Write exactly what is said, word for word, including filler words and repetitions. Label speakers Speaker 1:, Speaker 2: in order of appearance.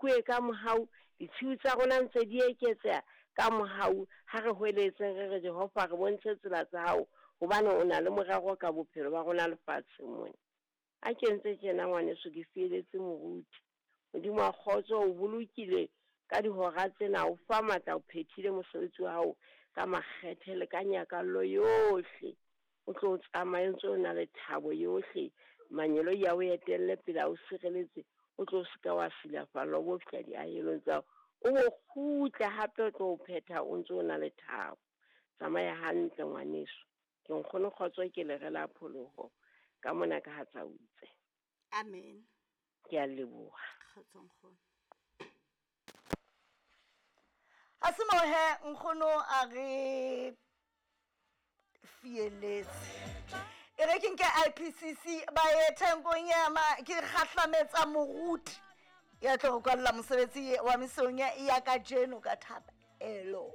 Speaker 1: Kuwe ka mohau, ditshiu tsa rona ntse di eketseha ka mohau. Ha re hweletseng re re Jehova re bontshe tsela tsa hao, hobane o na le morero ka bophelo ba rona lefatsheng mona. A ke ntse tjena ngwaneso, ke fieletse moruti. Modimo wa kgotso o bolokile ka dihora tsena, o fa matla, o phethile mosebetsi wa hao ka makgethe le ka nyakallo yohle. O tlo tsamaye o ntse o na le thabo yohle. Mangeloi a o etelle pele, a o sireletse, o tlo se ka wa silafalla, o bo fihla diahelong tsa hao. O bo kgutle hape o tlo phetha o ntse o na le thabo. Tsamaya hantle ngwaneso. Ke nkgono Kgotso, ke lere la pholoho ka mona ka ha Tsautse.
Speaker 2: Amen.
Speaker 1: Ke a leboha.
Speaker 2: Kgotso nkgono. Ha se moo he nkgono a re fieletse. E re ke nke I P C C ba ye Thengong ya ma ke kgahlametsa moruti ya tlo go kwalla mosebetsi wa mesong ya kajeno ka thapelo.